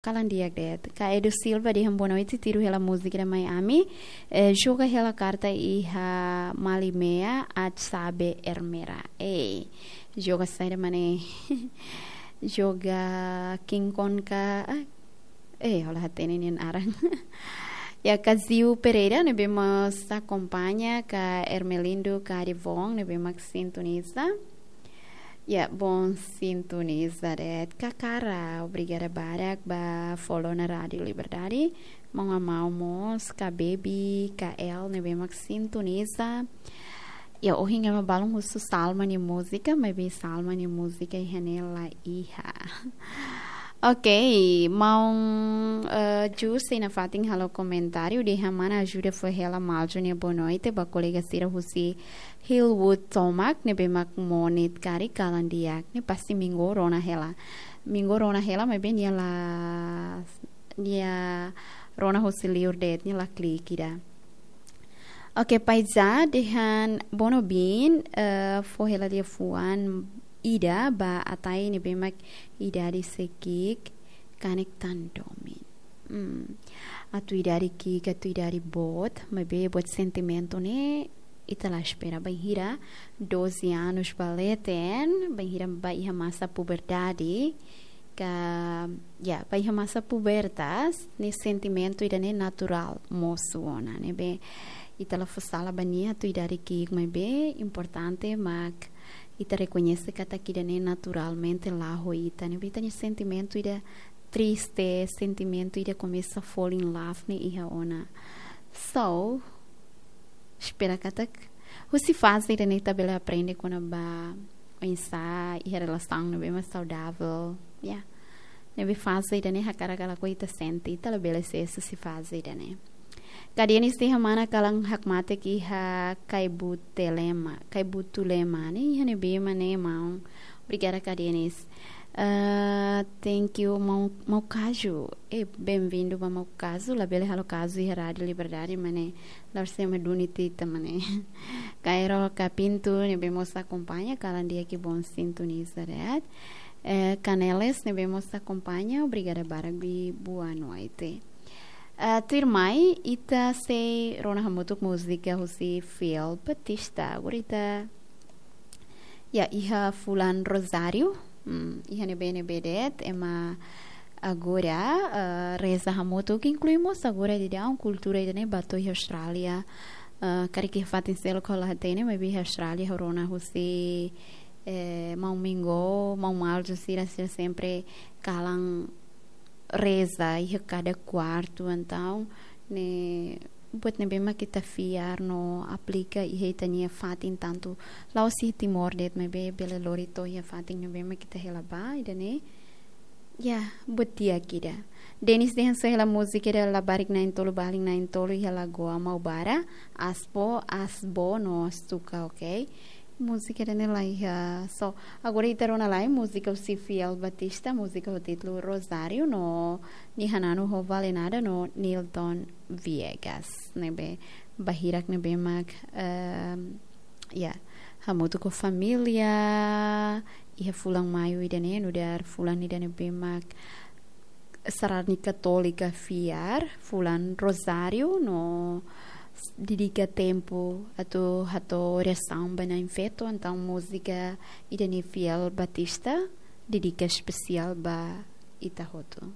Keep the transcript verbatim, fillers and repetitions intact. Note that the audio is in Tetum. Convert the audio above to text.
Kalan di'ak de'it. Ka Edu Silva dehan boa noite, tiru hela múzika ida mai ami. Eh, joga hela karta iha Malimea, at sabe ermera. Eh, joga saida, mane? Joga King Kong ka? Ah, eh, ha'u la hatene nia naran. Ya, Kaziu Pereira, ne'ebé mós akompaña, ka Ermelindo Carivon, ne'ebé mak sintoniza. Ya, bom sintoniza de'it. Kakara, obrigada barak ba follow ona Rádio Liberdade. Maun Amau mós, ka Baby, ka El, ne'ebé mak sintoniza. Ya, ohin ema balun husu Salma nia múzika, maibé Salma nia múzika iha ne'e la iha. Ok, maun, eh, Jus sei nafatin halo komentáriu, dehan mana ajuda fó hela Malju nia boa noite ba kolega sira husi Hillwood tomak, ne'ebé mak Monit karik, kalan di'ak. Ne'e pasti Minggu rona hela. Minggu rona hela, maibé nia la, nia rona husi liur de'it, nia la klik ida. Ok, Paiza dehan bono bin, eh, fó hela liafuan ida ba Atai ne'ebé mak idade sei ki'ik, kanek tan domin. Hmm. Atu idade ki'ik, atu idade boot, maibé buat sentimentu ne'e ita la espera, bainhira doze anos ba leten, bainhira ba iha masa puberdade, ka, ya, ba iha masa pubertas, ne'e sentimentu ida-ne'e naturál mosu ona, ne'ebé ita la fó sala ba nia atu idade ki'ik, maibé importante mak ita rekoñese katak ida-ne'e naturalmente la'o ho ita, ne'ebé ita-nia sentimentu ida triste, sentimentu ida komesa fall in love ne'e iha ona. So, espera katak husi faze ida-ne'e ita bele aprende kona-ba oinsá iha relasaun ne'ebé mak saudavel. Ya. Ne'ebé faze ida-ne'e hakarak ka lakohi ita sente, ita labele sees husi faze ida-ne'e. Ka Denis dehan mana kalan hakmatek iha Kaibutulema, Kaibutulema, ne'e iha ne'ebé mak ne'e, maun? Obrigada, ka Denis. Ah, thank you, maun, maun Kazu. Eh, bem-vindo ba maun Kazu. Labele halo kazu iha Rádio Liberdade, mane la sei ema duni ita, mane. Kairo, ka Pintu, ne'ebé mós akompaña, kalan di'ak, bom sintoniza de'it. Eh, Caneles, ne'ebé mós akompaña, obrigada barak, i boa noite. Ah, tuirmai, ita sei rona hamutuk múzika husi Fiel Batista. Agora ita, ya, iha fulan Rozáriu. Hmm, iha ne'ebé-ne'ebé de'it, ema agora, ah, reza hamutuk, inklui mós agora daudaun kultura ida-ne'e ba to'o iha Austrália. Ah, karik iha fatin seluk ha'u la hatene, maibé iha Austrália ha'u rona husi, eh, maun Mingo, maun Malju sira, sira sempre kalan reza iha kada kuartu, entaun ne'e buat ne'ebé mak ita fiar no aplika iha ita-nia fatin, tantu la'ós iha Timor de'it, maibé bele lori to'o iha fatin ne'ebé mak ita hela ba, ida-ne'e, ya, buat di'ak ida. Denis dehan só hela múzika ida Labarik Na'in-Tolu, Balin Na'in-Tolu iha Lagoa Maubara, Asbo, Asbo no Stuka, ok? Múzika ida-ne'e la iha. So, agora ita rona lai múzika husi Fiel Batista, múzika ho títulu Rozáriu, no nia hananu ho Valenada no Nilton Viegas. Ne'ebé bainhira ne'ebé mak, ehm, ya, hamutuk ho família, iha fulan Maiu ida-ne'e, nu'udar fulan ida ne'ebé mak sarani Katólika fiar, fulan Rozáriu, no dedika tempu atu hato'o orasaun ba Na'in Feto, entaun múzika ida-ne'e Fiel Batista dedika espesiál ba ita hotu.